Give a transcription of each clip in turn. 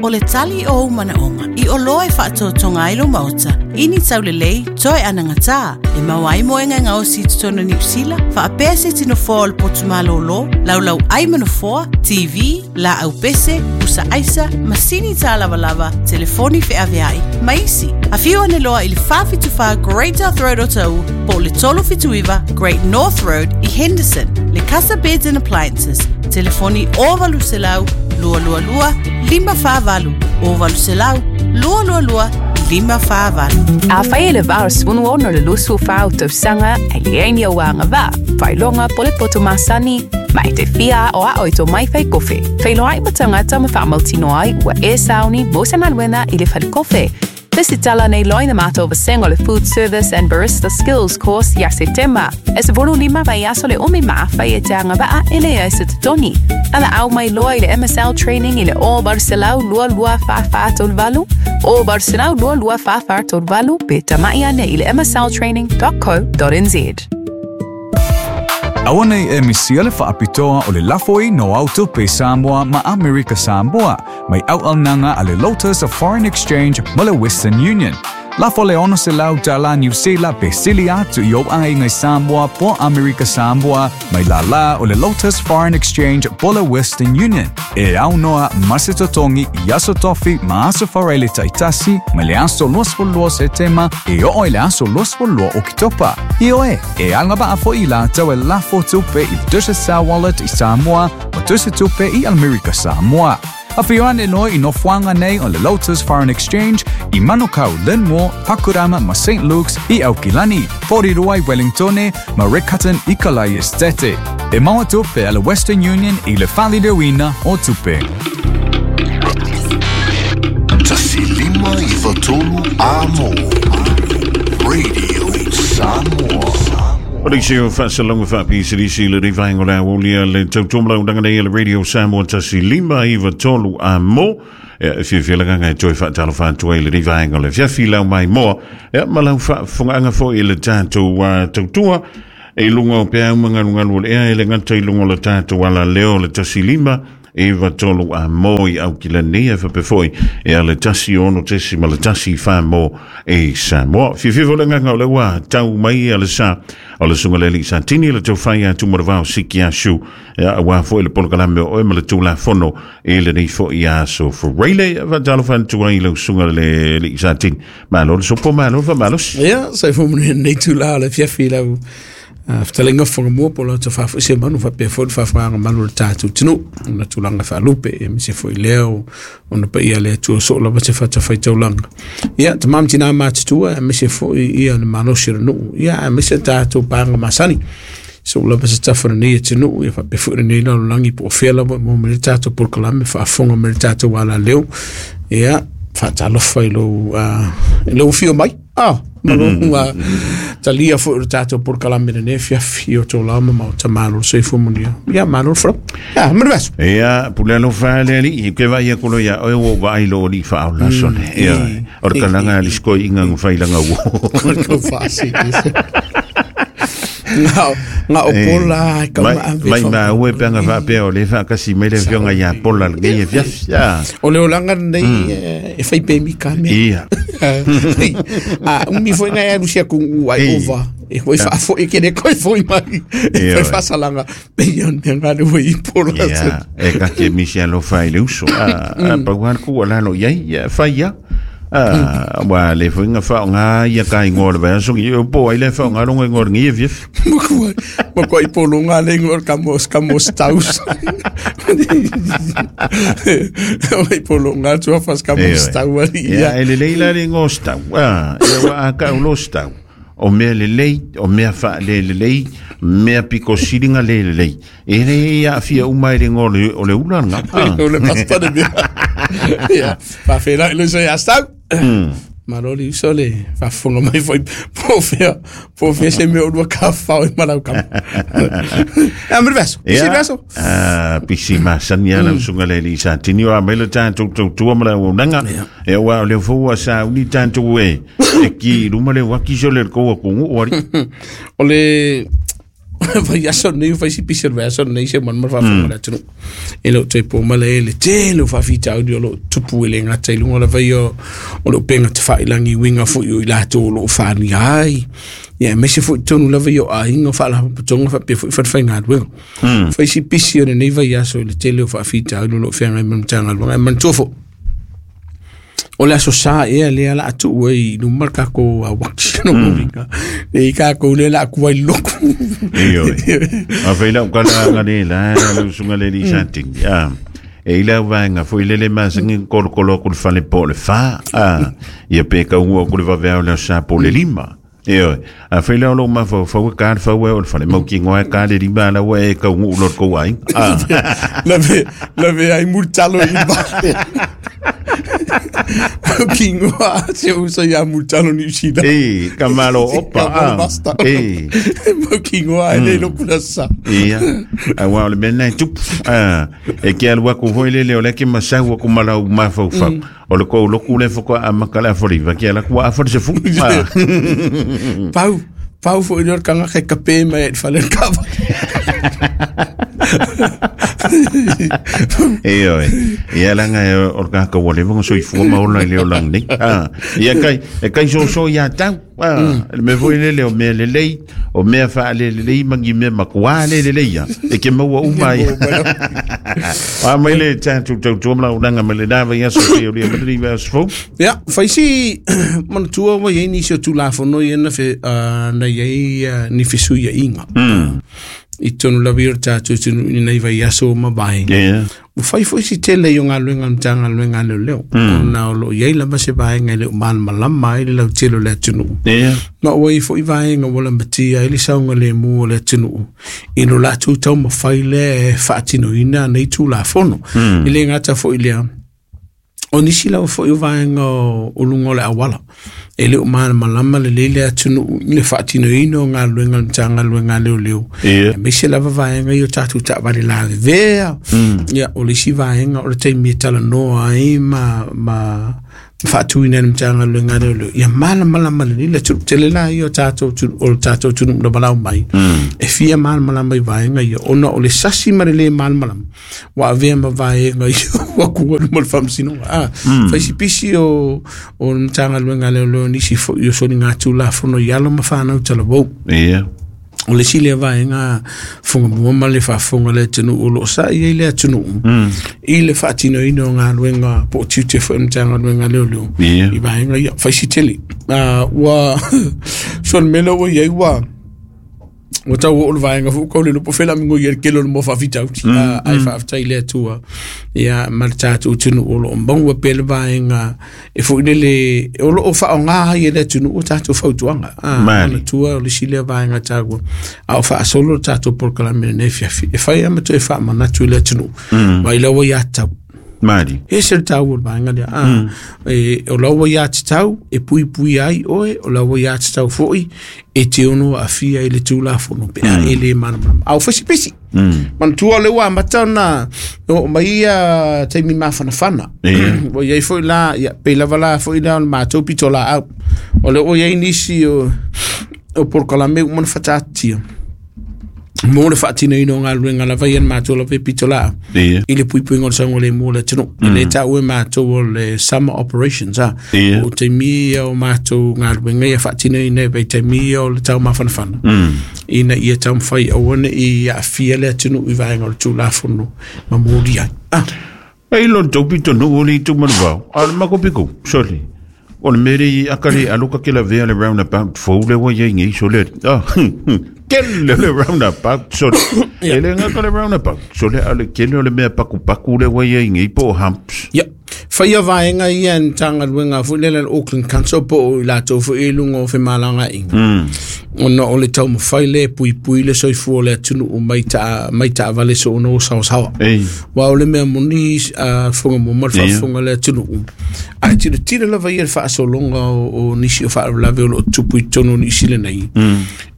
O le tali o ou manaoga i oloa e faatotoga ai lou maota, i ni taulelei, toe anagata, e maua ai moega e gaosi i totonu o Niu Sila, faapea se isi nofoa o le potu malolo, laulau ai ma nofoa, TV, laau pese, pusa aisa, masini tālavalava, telefoni feaveai, ma isi. Afio ane loa i le 474 Great South Road o Taʻu po o le 379 Great North Road i Henderson, le Casa Beds and Appliances, telefoni 0800 222 548, 0800 222 548. Afai e le 86 le 24 o tausaga e leai ni ou agavaa, faailoga po o le poto masani, ma e te fia aoao i tō mai whai kofe. Feiloai ma tagata ma faamautinoa ai ua e sauni mo se galuega i le fale kofe. Resitala nei loa i na matou vasega o le Food Service and Barista Skills Course ia Setema. E 15 vaiaso le umi ma afai e te agavaa e leai se totogi. Valaau mai loa i le MSL Training i le 0800 22 44 38, 0800 22 44 38 pe tamai ane i le msltraining.co.nz. Aua nei e misia le faapitoa o le lafoina o au tupe Samoa ma Amerika Samoa mai auaunaga a le Lotus of Foreign Exchange ma le Western Union. Lafo le 600 tala Niu Sila pe sili atu i ou aiga i Samoa po Amerika Samoa mai lālā o le Lotus Foreign Exchange po le Western Union e aunoa ma se totogi i aso tofi ma aso faraile taitasi mai le aso 22 Setema e oo i le aso 22 Oketopa. Ioe, e agavaa foi i latou e lafo tupe i Digicel Wallet i Samoa ma tusi tupe i Amerika Samoa. Afio ane loa i nofoaga nei o le Lotus Foreign Exchange i Manukau, Linmore, Pakurama ma St Luke's i Aukilani, Porirua i Wellingtone ma Riccarton i Kalai Estate. E maua tupe a le Western Union i le faaliliuina o tupe. 1 5 9 3 A Mo Radio Samoa. O le isi o faasalauga faapisilisi i lenei vaega o le aolia le tautuamalaulaga nei a le Radio Samoa 1 5 9 3 a mo. E fiafia le agaga e toe faatalofa atu ai i lenei vaega o le afiafi lau maimoa. E ma lau faafofogaaga foi i le tatou tautua i luga o peau ma galugalu o le ea e le gata i luga o le tatou alaleo le 1 5 9 3 a mo i Aukilani e faapea foi e a le 1 6.1 mo i Samoa. Fiafia foi le agaga o le ua tau mai a le sa o le susuga le alii Satini le taufai a Tumaravao Siki Asu e aua foi le polokalame o oe ma le Tulafono i lenei foi aso Faraile. Faatalofa atu ai lau susuga le alii Satini. Malo le sopo, malo le faamalosi. Ia, soifua manuia lenei itulā o le afiafi i lau fetalaiga Fagamua po o lau tofa foi Seumanu faapea foi le faafofogaaga malu o le tatou atunuu ona tulaga faalupe aemaise foi lea o ona paia le Atua soo lava se fatafaitaulaga. Ia, tama ma tinā matutua aemaise foi ia le malosi o le nuu, ia aemaise tatou paga masani. So lava se tafa lenei atunuu, ia faapea foi lenei lalolagi po o fea lava mo mai le tatou polokalame faafofoga mai le tatou alaleo. Ia, faatalofa i lou, i lou afio mai. Ah, ma lou talia foi o le tatou polokalame lenei afiafi i o tou lao ma maota malo le soifua manuia. Ia, malo le folau. Ia, manuia aso. Ia, pule alofa le alii, ke vai a kolo ia oe ua vaai lo alii faaola sone. Ia, o le kalaga a le sikoiga na fai langa uo. Ko le kau faasili. Nga nga o pola e kau Mai, ma ave mai fa- ma ue pe anga faapea o le faakasi mai le afioga ia Pola lenei afiafi. Ah, O le olaga lenei e fai pe mika mea. Ia. A umi foi ngai alu sia ku ai ova. E foi faafoi ke le koe foi mai. E Ia, fai oi. faasalaga. Pe ia mea ngā le ua i pola. Ia, e kake misi alofa i le uso. Ah, ah, pau lava le ku ua lalo i ai, ia, fai ia. Ah, ua le foi nga faaaoga ia ka igoa o le vaiaso, ia po ai le faaaoga longa igoa o lenei afiafi. Makua, makua i polonga le ingoa o le kamo, kamo staus. O i polonga atu a fas kamo Ioe. stau ali Ia, ia. e lelei la le igoa o stau. Ah, ia ua a kau lo stau. O mea lelei, o mea faalelelei, mea piko sili na le lelei. E le aafia uma i le igoa o le, o le ula lena. Ah. O le pasta le mea. Ia, faafeiloai le uso ia stau. Malo le uso le faafofoga mai foi po o fea, po o fea se mea o lua tafafao ai ma lau kama. Ia, mo le vaiaso, pisi le vaiaso. Ah, pisi masani a lau susuga le alii Satini o a mai le tatou tautua ma le auaunaga. E aua o lea foi ua sauni tatou e e ki i luma le uaki so le kou atunuu alii. O le Vaiaso lenei ua fai si pisi o le vaiaso lenei se manu ma le faafofoga a le atunuu. E le o toe po ma le le tele o faafitauli o lo o tupu e le gata i luga lava ia o le upega tafailagi i uiga foi o i latou o lo o faaalia ai. Ia aemaise foi totonu lava ia o aiga, o faalapotopotoga faapea foi falefaigaluega. Fai si pisi o lenei vaiaso i le tele o faafitauli o lo o feagai ma le Matagaluega. Ae manatua foi, o le aso sa ea lea o le a tuu ai i luma le tatou uaki no uiga. E i tatou lea o le a atu ai i le lotu. Ioe. A fai lau kala anga le la, le usunga le li sa tingi. Ah. E i lau vaenga foi lele masangi kolokolo aku le fale po le fa. Ah. Ia pe kaungu aku le vavea o le sa po le lima. Ioe. A fai lau lou mafaufau e ka le fau e o le fale mau ki ngoa e ka le lima ala ua e kaungu ulo le kou ai. Ah. Lave, lave ai multalo i ba. Kingoa se usa ia multalo ni usina. E, ka malo opa. Ka malo Ah. basta. E. Mau kingoa e le lokuna sa. Ia, aua o le mea lena e tupu. Ah, e ke alu aku foi lele o le ke masau aku ma lau mafaufau. O le kou loku le faatoa amata le afa liva, ke ala ku afa le sefulu. Ah. Pau, pau foi le kanga ke kape mai e fale kava. E oe, ia langa e o le kaka ua leva nga soifua ma ola i le olaga nei. Ah, ia kai, e kai soso ia tau. Ah, le mea foi lele o mea lelei, o mea faalelelei ma ni mea matua lelelei ia. E ke maua uma ai. A mai le tatou tautua ma launaga mai le na vaiaso se o le ma le vaiaso fou. Ia, fai si manatua ua i ai nisi o Tulafono ia na fe, na i ai ni fesuiaiga. I totonu lava ia o le tatou atunuu i lenei vaiaso ua mavae. Yeah. Ua fai foi si tele i o galuega a le Matagaluega a Leoleo, ona o lo o i ai lava se vaega e le o malamalama ai le lautele o le atunuu. Yeah. Ma ua i ai foi vaega ua lamatia ai le saogalemu o le atunuu i lo latou taumafai lea e faatinoina nei Tulafono. E le gata foi i lea, o nisi lava foi o vaega o luga o le auala, e le o malamalama lelei le atunuu i le faatinoina o galuega a le Matagaluega a Leoleo. Ia. Aemaise lava vaega ia o tatou taavale lavevea. Ia, o le isi vaega o le taimi e talanoa ai ma faatuina e le Matagaluega a Leoleo, ia malamalama lelei le atunuu. Tele la ia o tatou o le tatou atunuu na valaau mai, e fia malamalama i vaega ia, ona o le sasi ma le le malamalama, ua avea ma vaega ia ua kua i luma o le faamasinoga. Ah, fai si pisi o le Matagaluega a Leoleo nisi foi o soligatulafono i alo ma fanau talavou. Ia. O le isi lea vaega fugamua ma le faafofoga a le atunuu o lo o sa'i ai le atunuu i le faatinoina o galuega po o tiute foi o le Matagaluega a Leoleo Ia. i vaega ia. Fai si tele. Ah, ua so le mea lea ua i ai ua ua tau oo le vaega foi ua tau le iloa po o fea le a migoi ai le tele o le moa faafitauli. Ae faafetai i le Atua ia ma le tatou atunuu o lo o maua pea le vaega e foi lele o lo o faaaoga ai e le atunuu o tatou fautuaga. Mali. Manatua o le isi lea vaega taua a o faasolo le tatou polokalame i lenei afiafi e fai lava ma toe faamanatu i le atunuu mai lau ia tatau. Mali. E ese le taua o le vaega lea. E, o lau ia tatau e puipui ai oe, o lau ia tatau foi e te ono aafia i le Tulafono pe a e le malamalama. A o fai si pisi. Manatua o lea ua amata ona oo mai ia taimi mafanafana. Ia. Ua i ai foi la, ia, pei lava la foi lea o le matou pitolaau. O lea ua i ai nisi o polokalame uma ona fataatitia mo le faatinoina o galuega lava ia na matou lava e pitolaau Ia. i le puipuiga o le saogalemu o le atunuu. E le taua e matou o le summer operations, a. Ia. O taimi ia o matou galuega ia faatinoina e vaitaimi ia o le taumafanafana. Ina ia taumafai aua ne i aafia le atunuu i vaega o le Tulafono ma moli ai. Ah. E ilo le tau pito nuu o le itu ma le vao. A o le mako piko, sole. O le mea lea i aka le alu ka ke lavea le roundabout fou le ua i ai nei, sole. Ah, kele le roundabout, sole. E le gata le roundabout, sole, a o le kele o le mea pakupaku le ua i ai nei po o humps. Ia, faia vaega ia e le Matagaluega foi lea le Auckland Council po o i latou foi i luga o femalagaaiga. Ona o le taumafai lea e puipui le soifua o le atunuu mai ta, mai taavale soona o saosaoa. Ei. Aua o le mea moni a Fugamua ma le Ia. faafofoga a le atunuu, a e tilotilo lava ia i le faasologa o nisi o faalavelave o lo o tupu i totonu o Niu Sila nei,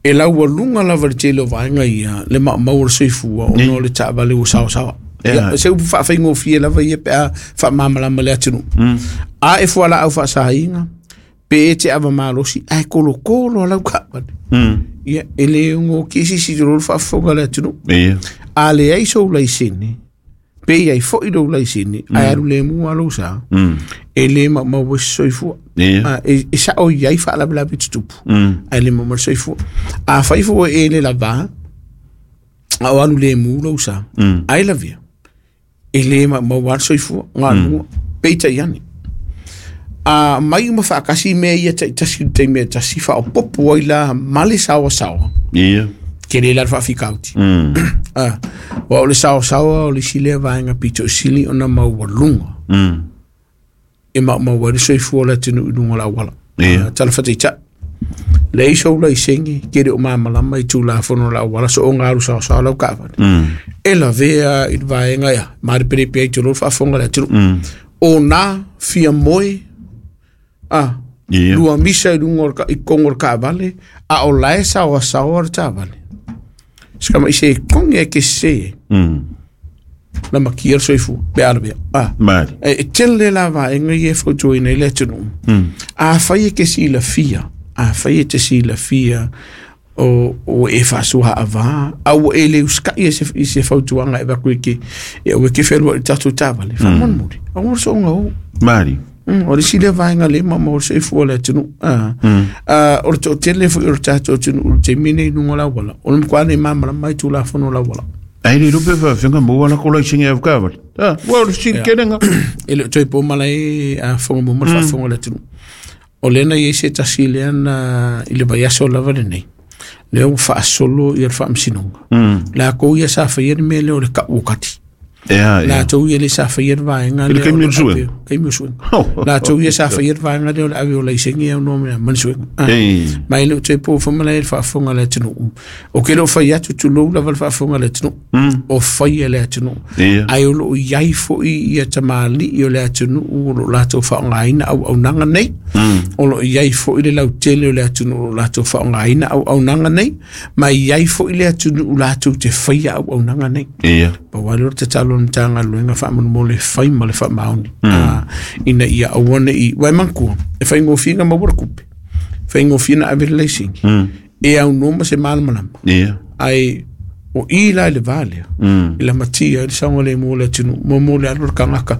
e laualuga lava le tele o vaega ia le maumau o le soifua ona o le taavale ua saosaoa. Ia. Ia, se upu faafaigofie lava ia pe a faamalamalama le atunuu. A e fualaau faasaina, pe e te ava malosi, ae kolokolo a lau taavale. Ia, e le ngo kisi si tolo faafofoga le atunuu. Ia. A leai sou laisene, pe i ai fo'i lou laisene, ae alu lemu lava lou sa, e lē maumau ai se soifua. Ia. E sa'o i ai faalavelave tutupu, ae le maumau le soifua. Afai foi ua e le lavā, a o alu lemu lou sa, ai lavea, e lē maumau lava le soifua, galuga, peitai ane. A mai uma faatasi mea ia taitasi i le taimi e tasi, faaopoopo ai la ma le saoasaoa, Ia. tele la le faafitauli. Aua o le saoasaoa o le isi lea vaega pito sili ona maualuga e maumau ai le soifua o le atunuu i luga o le auala. Ia. Tala faataitai, leai sou laisene, ke le o malamalama i tulafono o le auala, soona alu saoasaoa lau taavale. E lavea i le vaega ia, malepelepe ai tulou le faafofoga a le atunuu. O na fia moe, Ia. lua misa i luga o le i totonu o le taavale, a o la e saoasaoa le taavale. Se kama'i se kogi ae ke sesē ai. Na makia le soifua, pe a lavea. Mali. E tele la vaega ia e fautuaina ai le atunuu. Afai e te silafia, afai e te silafia o e faasoaavā, a ua e le usita'i i se fautuaga e avatu e ke e aua e te fealuai i le tatou taavale, faamolemole, aua le soona o. Mali. O le isi lea vaega lea maumau ai le soifua o le atunuu. O le toatele foi o le tatou atunuu i le taimi lenei i luga o le auala, o le matua le malamalama i tulafono o le auala. Ai le lupe faafeaga maua la ko laisene avakavale. Ua o le sili kelega. E le o toe po malae a fofoga mo ma le faafofoga o le atunuu. O lea na i ai se tasi lea na i le vaiaso lava lenei, lea ua faasolo ia le faamasinoga. Latou ia sa faia le mea lea o le kau o kati. Ia, ia. Latou ia le sa faia le vaega I le lea taimi o o le suega. Taimi o suega. Oh. Latou ia sa faia le vaega lea o le ave o laisene e aunoa ma le suega. Ei. Ma e le o toe po foi malae le faafofoga a le atunuu. O ke le o fai atu tulou lava le faafofoga a le atunuu. O faia le atunuu. Ia. Ae o loo i ai fo'i ia tamalii o le atunuu o loo latou faaaogaina auaunaga nei. O loo i ai fo'i le lautele o le atunuu o loo latou faaaogaina auaunaga nei, ma i ai fo'i le atunuu latou te faia auaunaga nei. Ia. Pau lava lea o le tatalo a le Matagaluega faamolemole e fai ma le faamaoni, ina ia aua nei, uae manatua, e faigofie na maua le tupe, faigofie na ave le laisene, e aunoa ma se malamalama. Ia. Ae o i la i le va lea, i lamatia ai le saogalemu o le atunuu, mo le alu o le tagata.